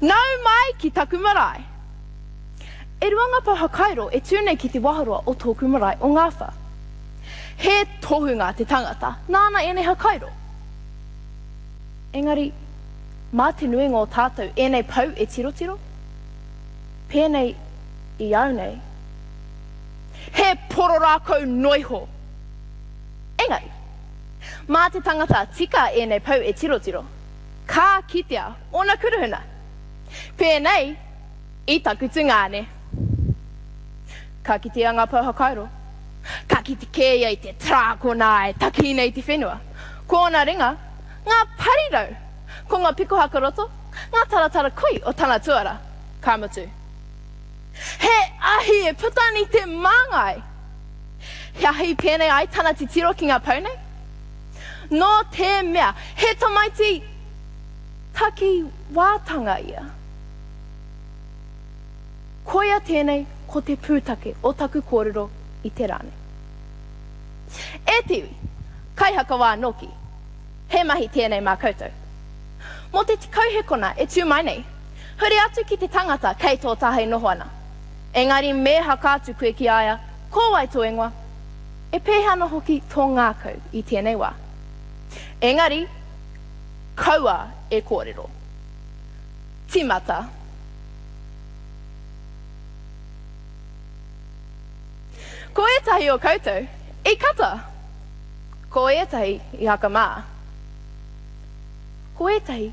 Nau mai ki taku marae! E rua ngā pou hakairo e tū nei ki te waharoa o tōku marae o Ngāwhā. He tohunga te tangata nāna ēnei hakairo. Engari, mā te nuinga o tātou ēnei pou e tirotiro? Pēnei i au nei. He poro rākau noiho! Engari, mā te tangata tika ēnei pou e tirotiro, ka kitea ōna kuruhuna. Pēnei i taku tungāne. Ka kitea ngā pou hakairo. Ka kite kē ia i te tarākona e taki nei i te whenua. Ko ōna ringa, ngā parirau! Ko ngā piko hakaroto, ngā taratara koi o tana tuara. Ka mutu. He ahi e puta ana i te māngai! He ahi pēnei ai tana titiro ki ngā pou nei? Nō te mea, he tamaiti takiwātanga ia. Koia tēnei ko te pūtake o taku kōrero i te rā nei. E te iwi, kaihakawā nōki, he mahi tēnei mā koutou. Mō te 10 hekona e tū mai nei, huri atu ki te tangata kei tō taha e noho ana. Engari me haka atu koe ki a ia, ko wai tō ingoa? E pēhea ana hoki tō ngākau i tēnei wā? Engari, kaua e kōrero. Tīmata. Ko ētahi o koutou i kata. Ko ētahi i hakamā. Ko ētahi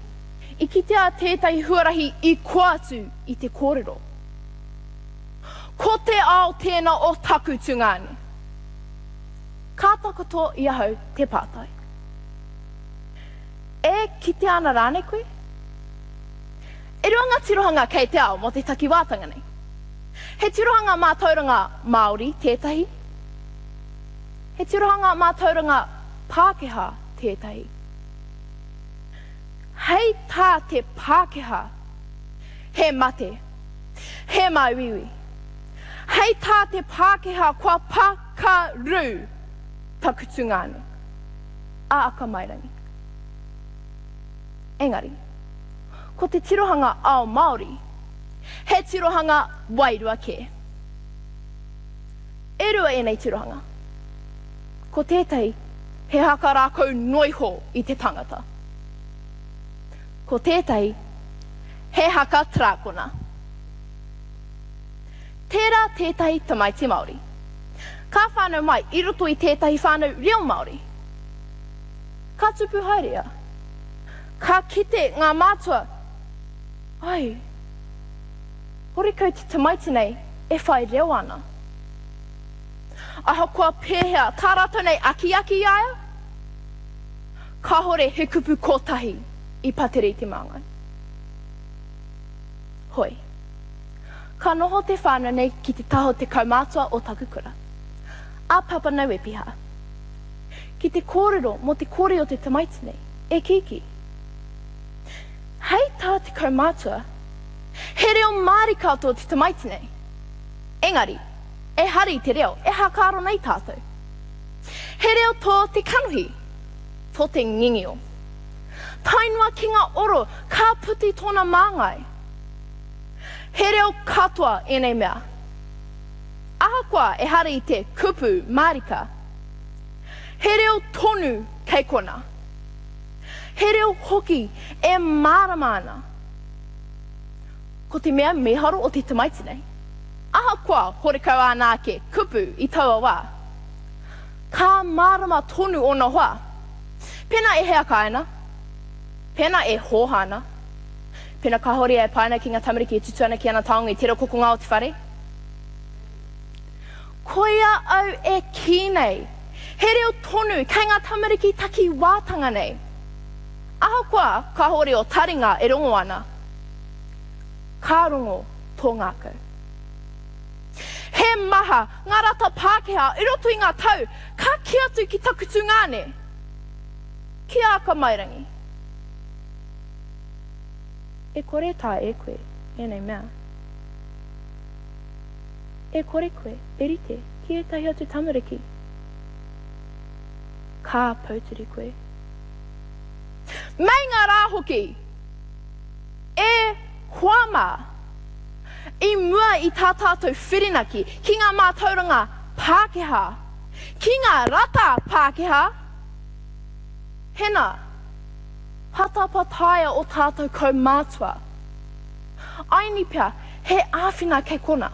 i kitea tētahi huarahi i koa atu i te kōrero. Ko te ao tēnā o taku tungāne. Ka takoto i ahau te pātai. E kitea ana rānei koe? E rua ngā tirohanga kei te ao mō te takiwātanga nei. He tirohanga mātauranga Māori tētahi, he tirohanga mātauranga Pākehā tētahi. Hei tā te Pākehā, he mate, he māuiui. Hei tā te Pākehā kua pakaru taku tungāne, a Akamairangi. Engari, ko te tirohanga ao Māori, he tirohanga wairua kē. E rua ēnei tirohanga. Ko tētahi, he haka rākau noiho i te tangata. Ko tētahi, he haka tarākona. Tērā tētahi tamaiti Māori. Ka whānau mai i roto i tētahi whānau reo Māori. Ka tupu haere ia. Ka kite ngā mātua, ai, horekau te tamaiti nei e whai reo ana. Ahakoa pēhea tā rātou nei akiaki i a ia, kāhore he kupu kotahi i patere i te māngai. Hoi. Ka noho te whānau nei ki te taha o te kaumātua o taku kura, a Papa Nauepiha. Ki te kōrero mō te kore o te tamaiti nei, e kīkī. Hei tā te kaumātua, he reo mārika tō te tamaiti nei. Engari, ehara i te reo e hākaro nei tātou. He reo tō te kanohi, tō te ngingio. Tae noa ki ngā oro ka puti tōna māngai. He reo katoa ēnei mea. Ahakoa ehara i te kupu mārika, he reo tonu kei kona. He reo hoki e mārama ana. Ko te mea mīharo o te tamaiti nei, ahakoa horekau āna ake kupu i taua wā, ka mārama tonu ōna hoa. Pēnā e heaka ana, pēnā e hōha ana, pēnā kāore ia e pai ana ki ngā tamariki e tutu ana ki ana taonga i tērā kokonga o te whare. Koia au e kī nei, he reo tonu kei ngā tamariki takiwātanga nei. Ahakoa kāore ō taringa e rongo ana, ka rongo tō ngākau. He maha ngā rata Pākehā i roto i ngā tau ka kī atu ki taku tungāne, ki a Akamairangi, E kore taea e koe ēnei mea. E kore koe e rite ki ētahi atu tamariki. Ka pouturi koe. Meinga rā hoki! E! Hoa mā, i mua i tā tātou whirinaki ki ngā mātauranga Pākehā, ki ngā rata Pākehā, hena, patapataia o tātou kaumātua. Aini pea, he āwhina kei kona.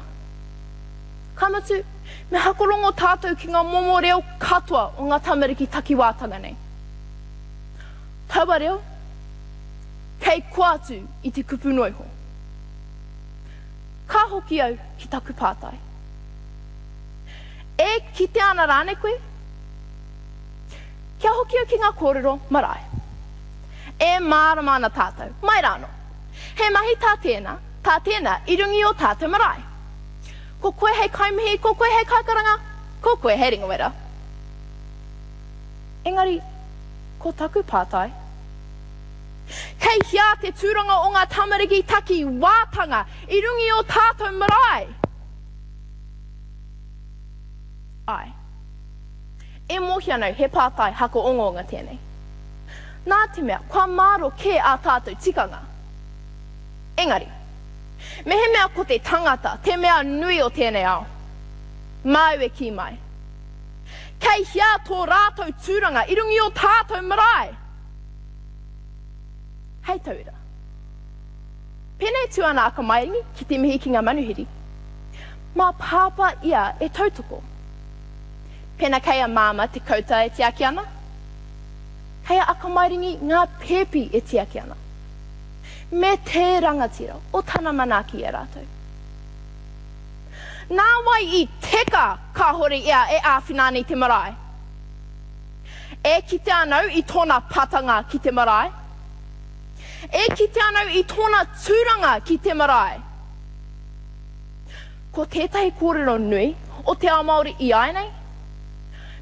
Ka mutu, me hakorongo tātou ki ngā momo reo katoa o ngā tamariki takiwātanga nei. Taua reo, kei koa atu i te kupu noa iho. Ka hoki au ki taku pātai. E kitea ana rānei koe? Kia hoki au ki ngā kōrero marae. E mārama ana tātou, mai rānō. He mahi tā tēnā, tā tēnā i runga i ō tātou marae. Ko koe hei kaimihi, ko koe hei kaikaranga, ko koe hei ringawera. Engari, ko taku pātai, kei hea te tūranga o ngā tamariki taki wātanga i runga i ō tātou marae? Āe. E mōhio ana au he pātai hakaongaonga tēnei. Nā te mea, kua mārō kē ā tātou tikanga. Engari, mehemea ko te tangata te mea nui o tēnei ao, māu e kī mai, Kei hea tō rātou tūranga i runga i ō tātou marae? Hei tauira. Pēnei tū ana a Kamairangi ki te mihi ki ngā manuhiri. Mā Pāpā ia e tautoko. Pēnā kei a Māmā te kouta e tiaki ana, kei a Akamairangi ngā pēpi e tiaki ana. Me te rangatira o tana manaaki i a rātou. Nā wai i teka kāhore ia e āwhina ana i te marae? E kite ana au i tōna patanga ki te marae. E kite ana au i tōna tūranga ki te marae. Ko tētahi kōrero nui o te ao Māori iāianei,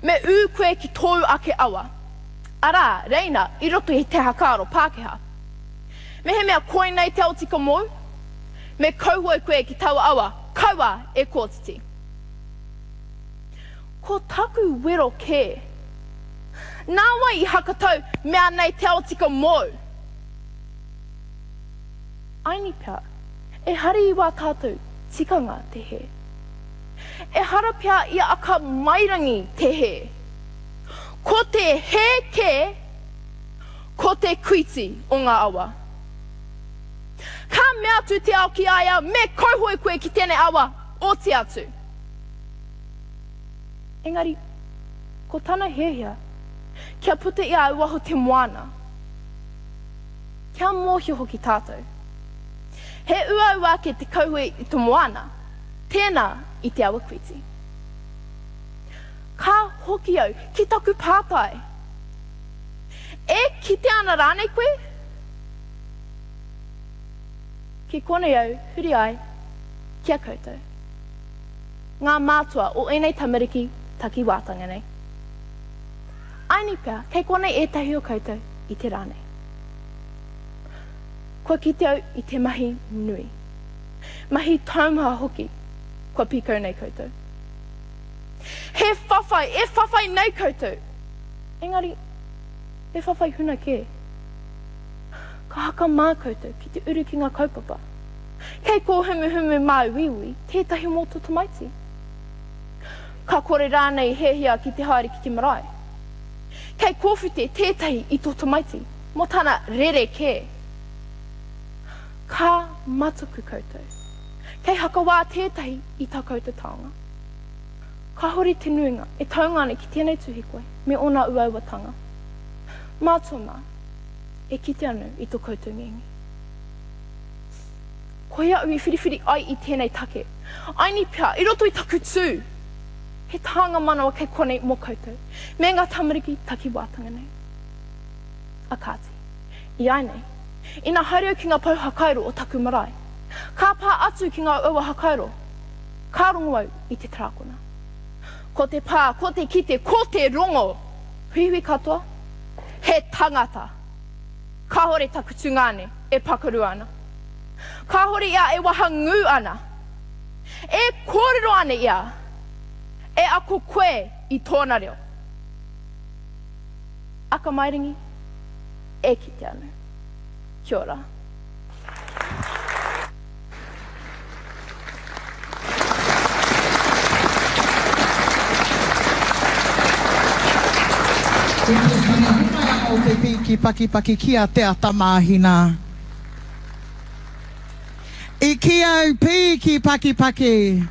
me ū koe ki tōu ake awa, arā, reina i roto i te hakaaro Pākehā. Mehemea koinei te ao tika mōu, Me kauhoe koe ki taua awa, kaua e kōtiti. Ko taku wero kē. Nā wai i hakatau mea nei te ao tika mōu? Aini pea, ehara i wā tātou tikanga te hē. Ehara pea i a Akamairangi te hē. Ko te hē kē, ko te kuiti o ngā awa. Ka mea atu te ao ki a ia, Me kauhoe koe ki tenei awa, oti atu. Engari, ko tana hiahia, kia puta i a au waho te moana. Kia mōhio hoki tātou. He uaua ake te kauhoe i te moana, tēnā i te awa kuiti. Ka hoki au ki taku pātai. E kite ana rānei koe? Ki konei au huri ai ki a koutou, ngā mātua o ēnei tamariki takiwātanga nei. Aini pea, kei konei ētahi o koutou i te rā nei. Kua kite au i te mahi nui, mahi taumaha hoki kua pīkau nei koutou. He whawhai, e whawhai nei koutou, engari he whawhai huna kē. Ka hakamā koutou ki te uru ki ngā kaupapa. Kei kōhumuhumu māuiui tētahi mō tō tamaiti. Ka kore rānei hiahia ki te haere ki te marae. Kei kōwhite tētahi i tō tamaiti mō tana rerekē. Ka mataku koutou. Kei hakawā tētahi i tā koutou taonga. Kāore te nuinga e taunga ana ki tēnei tuhikoi me ōna uauatanga. Mātua mā, e kite ana i to koutou ngenge. Koia au i whiriwhiri ai i tēnei take. Aini pea, i roto i taku tū, he tānga manawa kei konei mō koutou, me ngā tamariki takiwātanga nei. A kāti, iāinei, ina haere au ki ngā pou hakairo o taku marae, ka pā atu ki ngā uaua hakairo, ka rongo au i te tarākona. Ko te pā, ko te kite, ko te rongo! Huihui katoa, He tangata. Kāhore taku tungāne e pakaru ana. Kāhore ia e wahangū ana. E kōrero ana ia, e ako koe i tōna reo. Akamairangi, e kite ana. Kia ora. o te pīki pakipaki ki a Te Ata Māhina. I kī au pīki pakipaki.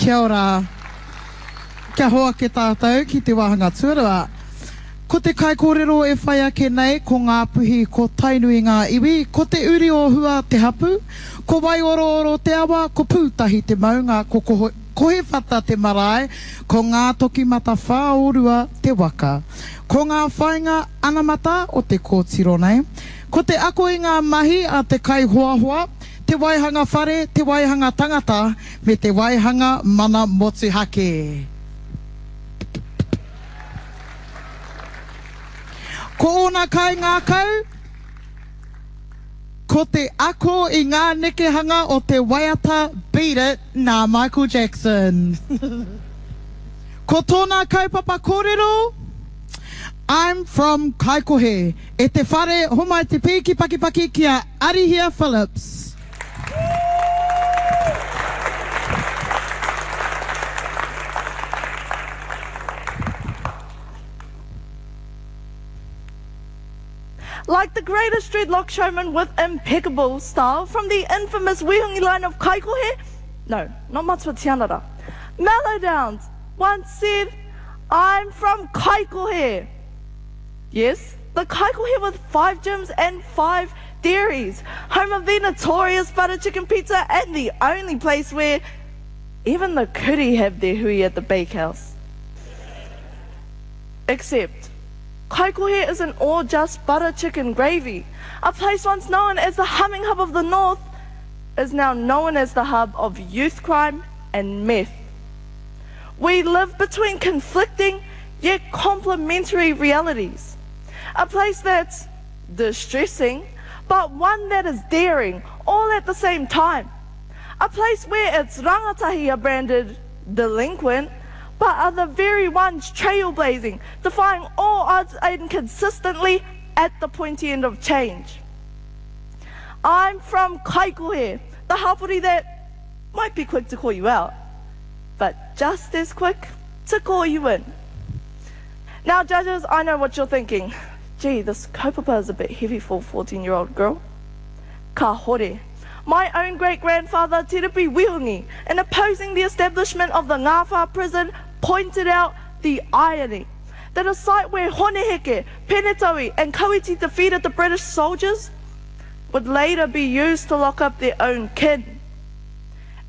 Kia ora. Kia hoake tātou ki te wāhanga tuarua. Ko te kaikōrero e whai ake nei ko Ngāpuhi, ko Tainui ngā iwi, ko Te Uri o Hua te hapu, ko Waiorooro te awa, ko Pūtahi te maunga, ko Kohiwhata te marae, ko Ngātokimatawhaorua te waka. Ko ngā whāinga anamata o te kōtiro nei, ko te ako i ngā mahi a te kaihoahoa, te waihanga whare, te waihanga tangata, me te waihanga mana motuhake. Ko ōna kaingākau, ko te ako i ngā nekehanga o te waiata Beat It nā Michael Jackson. Ko tōna kaupapa kōrero, I'm from Kaikohe, e te whare homai te pīki pakipaki ki a Arihia Phillips. Like the greatest dreadlock showman with impeccable style from the infamous Wihongi line of Kaikohe, no, not Matua Tianara, Mellow Downs once said, I'm from Kaikohe. Yes, the Kaikohe with five gyms and five dairies, home of the notorious butter chicken pizza and the only place where even the kuri have their hui at the bakehouse. Except, Kaikohe isn't all just butter chicken gravy. A place once known as the humming hub of the north is now known as the hub of youth crime and meth. We live between conflicting yet complementary realities. A place that's distressing, but one that is daring all at the same time. A place where its rangatahi are branded delinquent, but are the very ones trailblazing, defying all odds and consistently at the pointy end of change. I'm from Kaikohe, the hapori that might be quick to call you out, but just as quick to call you in. Now, judges, I know what you're thinking. Gee, this kaupapa is a bit heavy for a 14-year-old girl. Ka hore. My own great-grandfather, Te Ripi Wihongi, in opposing the establishment of the Ngawha prison, pointed out the irony that a site where Hone Heke, Penetaui and Kawiti defeated the British soldiers would later be used to lock up their own kin.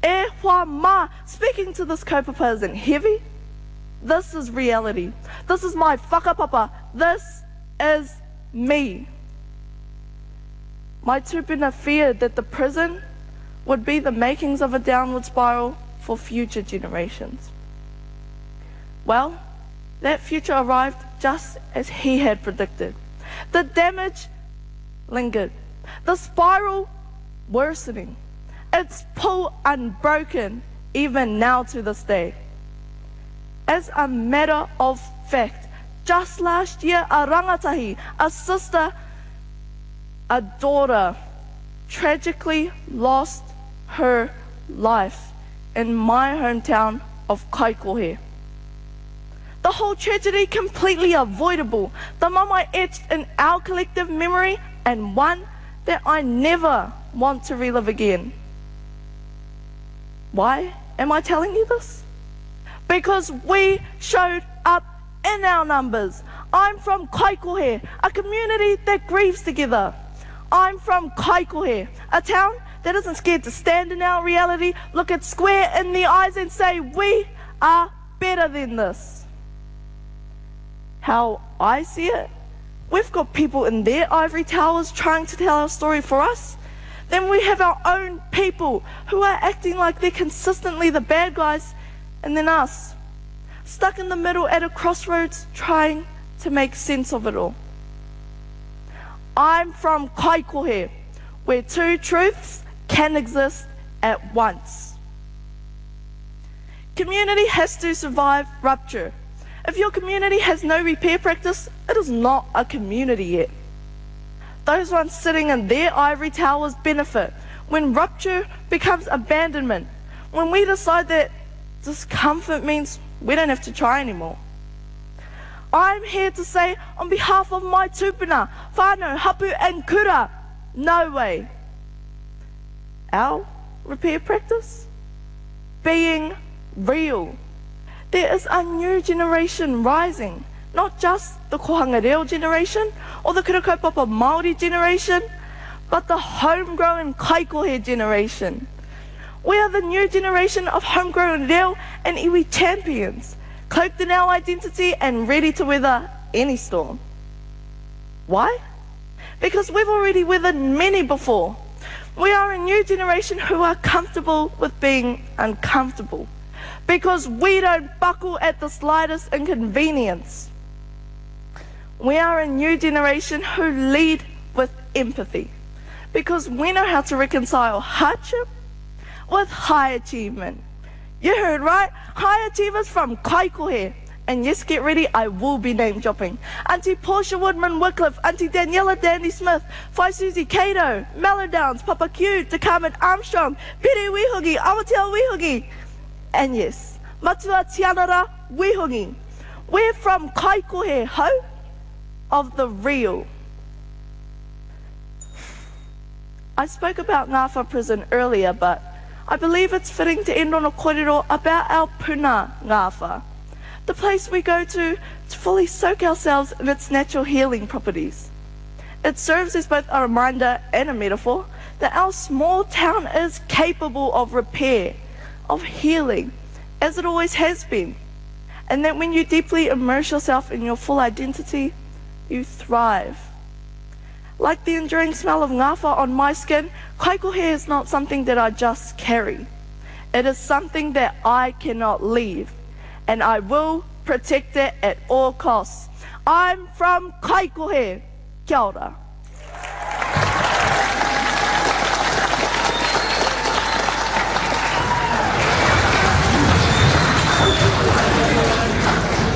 E hoa ma, speaking to this kaupapa isn't heavy. This is reality. This is my whakapapa. This is me. My tupuna feared that the prison would be the makings of a downward spiral for future generations. Well, that future arrived just as he had predicted. The damage lingered, the spiral worsening, its pull unbroken even now to this day. As a matter of fact, just last year, a rangatahi, a sister, a daughter, tragically lost her life in my hometown of Kaikohe. The whole tragedy completely avoidable, the mama etched in our collective memory and one that I never want to relive again. Why am I telling you this? Because we showed up in our numbers. I'm from Kaikohe, a community that grieves together. I'm from Kaikohe, a town that isn't scared to stand in our reality, look it square in the eyes and say, we are better than this. How I see it, we've got people in their ivory towers trying to tell our story for us. Then we have our own people who are acting like they're consistently the bad guys, and then us, stuck in the middle at a crossroads trying to make sense of it all. I'm from Kaikohe, where two truths can exist at once. Community has to survive rupture. If your community has no repair practice, it is not a community yet. Those ones sitting in their ivory towers benefit when rupture becomes abandonment, when we decide that discomfort means we don't have to try anymore. I'm here to say on behalf of my tupuna, whānau, hapu and kura, no way. Our repair practice? Being real. There is a new generation rising, not just the kohanga reo generation or the kura kaupapa Māori generation, but the homegrown kaikohe generation. We are the new generation of homegrown reo and iwi champions, cloaked in our identity and ready to weather any storm. Why? Because we've already weathered many before. We are a new generation who are comfortable with being uncomfortable because we don't buckle at the slightest inconvenience. We are a new generation who lead with empathy because we know how to reconcile hardship with high achievement. You heard right, high achievers from Kaikohe. And yes, get ready, I will be name dropping. Auntie Portia Woodman Wycliffe, Auntie Daniela Dandy Smith, Whai Susie Cato, Mellow Downs, Papa Q, Carmen Armstrong, Pere Wihugi, Awatea Wihugi. And yes, Matua Tianara Wihugi. We're from Kaikohe, ho, of the real. I spoke about Ngawha prison earlier, but I believe it's fitting to end on a kōrero about our puna Ngawha, the place we go to to fully soak ourselves in its natural healing properties. It serves as both a reminder and a metaphor that our small town is capable of repair, of healing, as it always has been, and that when you deeply immerse yourself in your full identity, you thrive. Like the enduring smell of ngawha on my skin, kaikohe is not something that I just carry. It is something that I cannot leave, and I will protect it at all costs. I'm from Kaikohe. Kia ora.